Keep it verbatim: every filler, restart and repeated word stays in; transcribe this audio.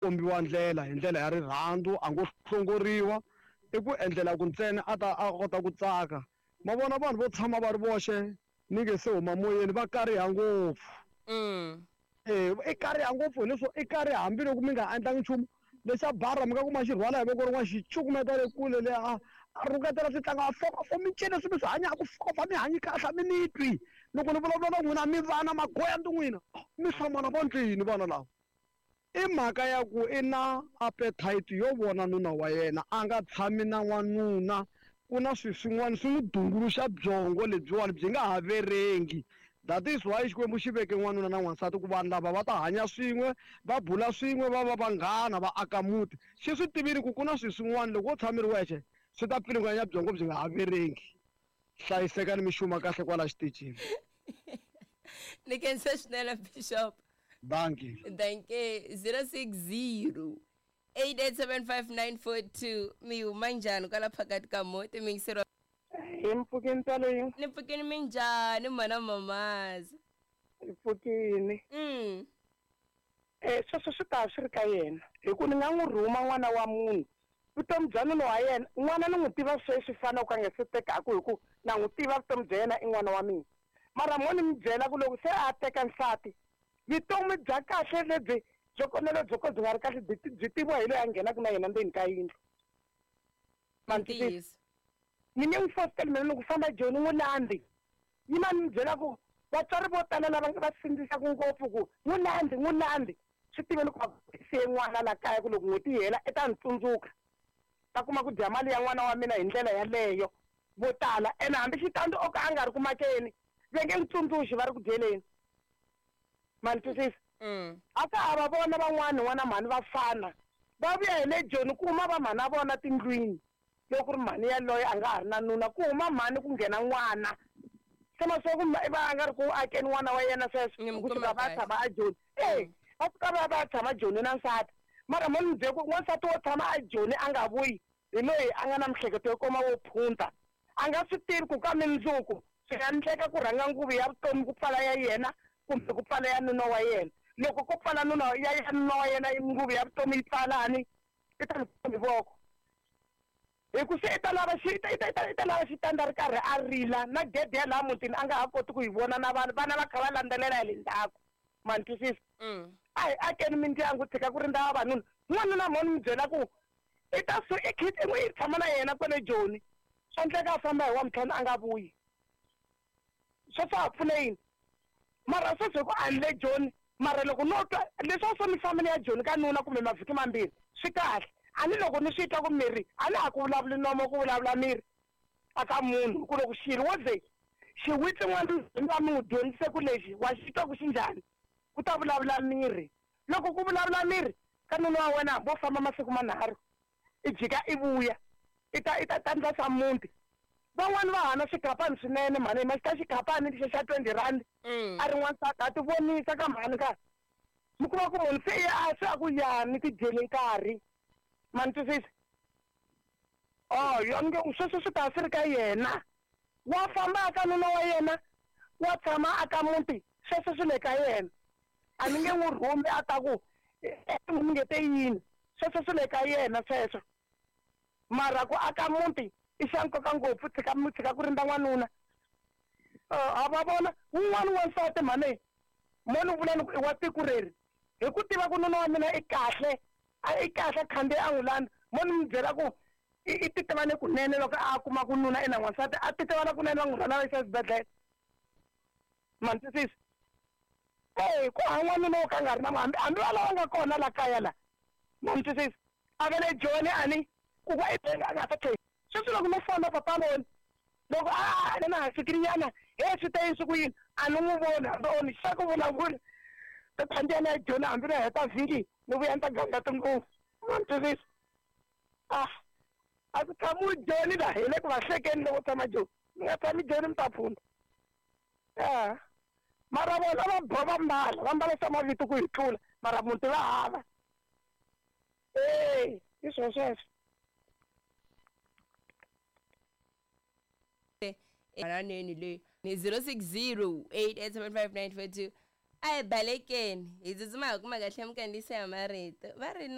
Kombiwa ndlela hi ndlela ya rirhandzu, a ngo hlongoriwa, i ku endlela ku ntsena a ta a kota ku tsaka. Ma vona vanhu vo tshama va ri voxe ni nge se huma moyeni va kariha ngopfu. Mm. Eh, i kariha ngopfu hileswo i kariha hambiloko mi nga endlangi nchumu lexa bara mi nga kuma xi rhwala hi voko rin'wana xi cukumeta le kule le a a rhuketela swi tlanga a fokofo mi ncini leswi mi swi hanyaka fokofa mi hanyi kahle a mi ni twi loko ni vulavula na n'wina mi vana magoya ndi n'wina mi hlamala va ndlwini vana lava. I mhaka ya ku i na appetite yo vona nuna wa yena a nga tshami na n'wanuna ku na swilo swin'wana swi n'wi dunguluxa byongo lebyiwani byi nga ha verengi. That is why Xikwembu xi veke n'wanuna na n'wansati ku vanhu lava va ta hanya swin'we va bula swin'we va va vanghana va aka muti. Xi swi tivile ku ku na swilo swin'wana loko wo tshama ri wexe swi ta pfilunganya byongo byi nga ha verengi. Hlayisekani mi xuma kahle kwala xitichini. Ni khensa swinene Bishop. Dankie. Dankie. zero six zero eight eight seven five nine four two mi huma njhani kwala phakathi ka muti mi yingiseriwa Hi mpfhukeni tsalo ni pfukini minjhani mhana mamazi? Hi pfukini. Mm. Eh sweswo swi ta swi ri ka yena hi ku ni nga n'wi rhuma n'wana wa munhu vutomi bya nuna wa yena n'wana ni n'wi tiva sweswi fana ku a nga se tekaku hi ku na n'wi tiva vutomi bya yena i n'wana wa mina mara mo ni mi byela ku loko se a teka nsati vutomi bya kahle lebyi byo kona byo ka byi nga ri kahle byi byi tiviwa hi loyi a nghenaka na yena ndzeni ka yindlu. Ntiyiso. Ni nge n'wi fositeli mina ni ku famba Joni n'wi landzi yima ni mi byela ku vatswari vo tala lava va sindzisaka ngopfu ku n'wi landzi n'wi landzi swi tiveni ku va siye n'wana la kaya ku loko n'hweti yi hela i ta ni tsundzuka ta kuma ku dya mali ya n'wana wa mina hi ndlela yaleyo vo tala ene hambi xitandi o ka a nga ri ku makeni va nge n'wi tsundzuxi va ri ku dyeleni. Ma ni twisisa? Mm. A ka ha va vona van'wana n'wana mhani va fana va vuya hi le Joni ku huma va mhani a vona tindlwini loko ku ri mhani yaloye a nga ha ri na nuna ku huma mhani ku nghena n'wana se ma swa ku va a nga ri ku akeni n'wana wa yena sweswo Ni mi ku kuma suka va kahle. tshama a Joni e va suka va va tshama Joni na nsati mara mo ni byela ku n'wansati wo tshama a Joni a nga vuyi hi loyi a nga na miehleketo yo koma wo phunta a nga swi tivi ku ka mindzuku swi nga endleka ku rhanga nguvu ya vutomi ku pfala ya yena kumbe ku pfala ya nuna wa yena loko ko pfala nuna ya ya nuna wa yena nguvu ya vutomi yi pfalani i ta ni voko hi ku se i ta lava xi i ta i ta i ta lava xitandi a ri karhi a rila na gede ya laha mutini a nga ha koti ku yi vona na vanhu vana va kha va landzelela hi le ndzhaku ma ni twisisa. Mm. A hi akeni mindyangu tshika ku rindza vavanuna n'wanuna mo ni mi byela ku i ta su i khiti i tshama na yena kwale Joni swa endleka a famba hi wa mintlhanu a nga vuyi sweswo a pfune yini mara sweswi hi ku a ni le Joni mara loko no twa leswi a swo mi fambile ya Joni ka nuna kumbe mavhiki mambirhi swi kahle a ni loko ni swi twa ku miri a ni ha ku vulavuli nomo ku vulavula miri a ka munhu ku loko xilo wo ze xiwitsi n'wana mi va mi n'wi dyondzise ku lexi wa xi twa ku xi njhani ku ta vulavula miri loko ku vulavula miri ka nuna wa wena hambi wo famba masiku manharhu i jika i vuya i ta i ta tandza swa muti van'wani va hana swikapani swinene mhani ma xi ta xikapani lexi xa twenty rand Mm. a ri n'wansati a ti vonisa ka mhani ka mi kuma ku munhu se a se a ku ya ni ti dyele nkarhi ma ni twisisa oh yo nge sweswo swi ta swi ri ka yena wa famba aka nuna wa yena wa tshama aka muti sweswo swi le ka yena a ni nge n'wi rhumi a ta ku mi nge te yini sweswo swi le ka yena sweswo mara ku aka muti i xa nkoka ngopfu tshika mi tshika ku rindza n'wanuna ha va vona wun'wani wansati mhani mo ni vula ni ku i wa tiko reri hi ku tiva ku nuna wa mina i kahle a i kahle khandziya a n'wi landza mo ni mi byela ku i i titivane kunene loko a kuma ku nuna i na n'wansati a titivana kunene va n'wi rhwala va yisa exibedhlele ma ni twisisa e ku hava n'wanuna wo ka a nga ri na hambi hambi va lava nga kona la kaya la ma ni twisisa a va le Joni a ni ku va i a nga ta tlhela sweswi loko no fona papa voni loko a a na ha fikirinyana he swi te yini swi ku yini a ni n'wi voni hambi o ni xa ku vulavula ta khandziya na Joni hambi no heta vhiki ni vuya ni ta ganga tinguvu ma ni twisisa ah a ku tshamiwi Joni laha hi le ku va hlekeni loko tshama Joni mi nga tshami Joni mi ta phunda a mara vona va bo va mbala va mbala swa mavito ku hi tlula mara muti va hava e hi swo sweswo. Mananeni leyi ni zero six zero eight eight seven five nine four two a hi balekeni hi tsutsuma hi kuma kahle minkandziyiso ya marito va ri